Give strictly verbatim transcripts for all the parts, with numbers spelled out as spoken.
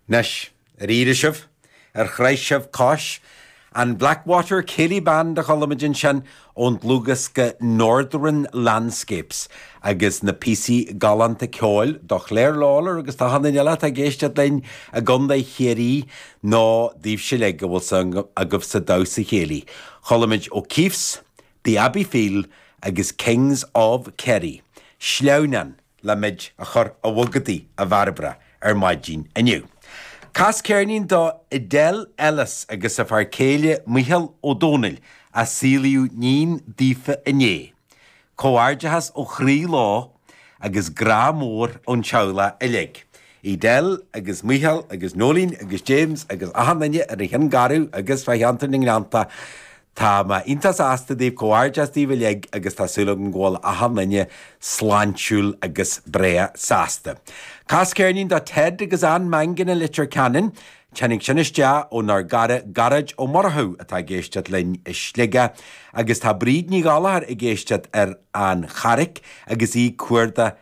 Anois, ar éirigh sibh, ar chroith sibh cois, an Blackwater Céilí Band a chuala muid ansin ón dlúthdhiosca Northern Landscapes agus na píosaí galánta ceoil do Claire Lawlor agus do achan duine eile atá ag éisteacht linn i gContae Chiarraí nó daoibhse uilig a bhfuil suim agaibh sa damhsa céilí. Chuala muid O'Keefe's, The Abbeyfeale agus Kings of Kerry. Sleamhnán le muid a chur a bhogadaí a Bhairbre ar maidin inniu. Cas ceirnín do Edel Ellis agus a fear céile Micheál Ó Dónaill a saolaíodh iníon daofa inné. Comhghairdeachas ó chroí leo agus grá mór ón teaghlach uilig. Edel agus Micheál agus Nolín agus James agus achan duine ar an Chionn Garbh agus fá cheantar na nGleannta. Tá mé iontach sásta daoibh comhghairdeas daoibh uilig agus tá súil agam go bhfuil achan duine sláintiúil agus breá sásta. Cas ceirnín do Ted agus Ann Mangan i Leitir Ceanainn, Tháinig sin isteach ónár gcara Gearóid Ó Murchú atá ag éisteacht linn i Sligeach agus tá Bríd Ní Ghallchóir ag éisteacht ar an Charraic agus í ag cuardach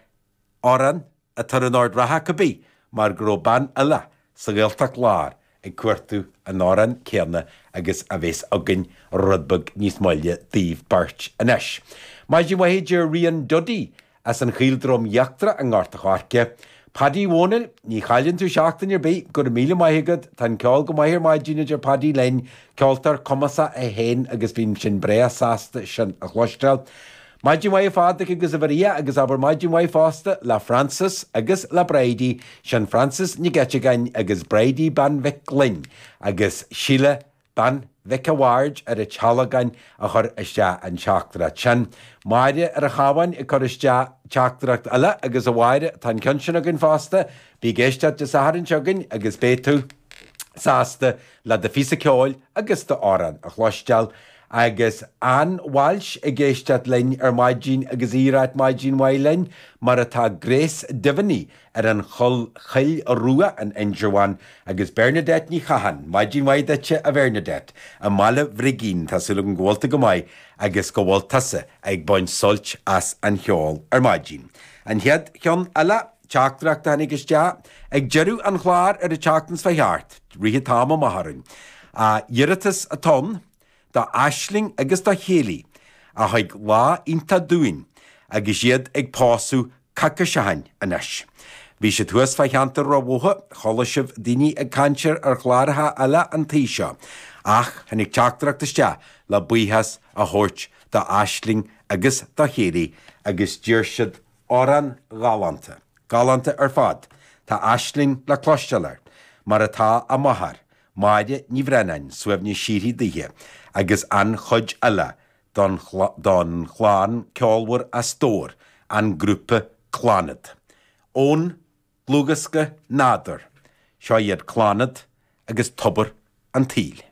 amhrán atá ar an ord reatha cibé mar go raibh bean eile sa Ghaeltacht Láir ag cuartú an amhrán céanna agus a bheas againn rud beag níos moille daoibh beirt anois. Maidin mhaith a deir Rian Duddy as an Chaoldroim Íochtarach i nGort a' Choirce. Paddy Mhónaill, ní chailleann tú seachtain ar bith go raibh míle maith agat, tá an ceol go maith ar maidin a deir Paddy linn, ceoltóir cumasach é féin agus bíonn sin breá sásta sin a chloisteáil. Maidin mhaith a Phádraig agus a Mharia agus abair maidin mhaith fosta le Francis agus le Bridie, sin Francis Nic Eiteagáin agus Bridie bean Mhic Gloinn agus Síle bean Mhic a' Bhaird ar an Tealgán a chuir isteach an teachtaireacht sin. Máire ar an Chabhán ag cur isteach teachtaireacht eile agus a Mháire tá an ceann sin againn fosta, bí ag éisteacht Dé Sathairn seo chugainn agus beidh tú sásta le do phíosa ceoil agus d'amhrán a chloisteáil. Agus Ann Walsh ag éisteacht linn ar maidin agus í ag ráit maidin mhaith linn, mar atá Grace Diviney ar an chul Choill Rua in Indreabhán agus Bernadette Ní Chatháin, maidin mhaith duitse a Bhernadette, i mBaile Bhrigín tá súil agam go bhfuil tú go maith agus go bhfuil tusa ag baint sult as an cheol ar maidin. An chéad cheann eile teachtaireacht a tháinig isteach ag deireadh an chláir ar an tseachtain seo thart, rith an t-am amach orainn. A iarratas atá ann do Aisling agus do Chéilí a thug lá iontach dúinn agus iad ag pósadh coicís ó shin anois. Bhí siad thuas fá cheantar Ráth Bhotha, chuala sibh daoine ag caint ar chláracha eile an tí seo, ach tháinig teachtaireacht isteach le buíochas a thabhairt do Aisling agus do Chéilí agus d'iarr siad amhrán galánta, galánta ar fad. Tá Aisling le cloisteáil air, mar atá a máthair, Máire Ní Bhreannáin, suaimhneas síoraí daoithe, agus an chuid eile don don chlann ceolmhar as Dobhar, an grúpa Clannad. Ón dlúthdhiosca Nádúr, seo iad Clannad agus Tobar an tSaoil.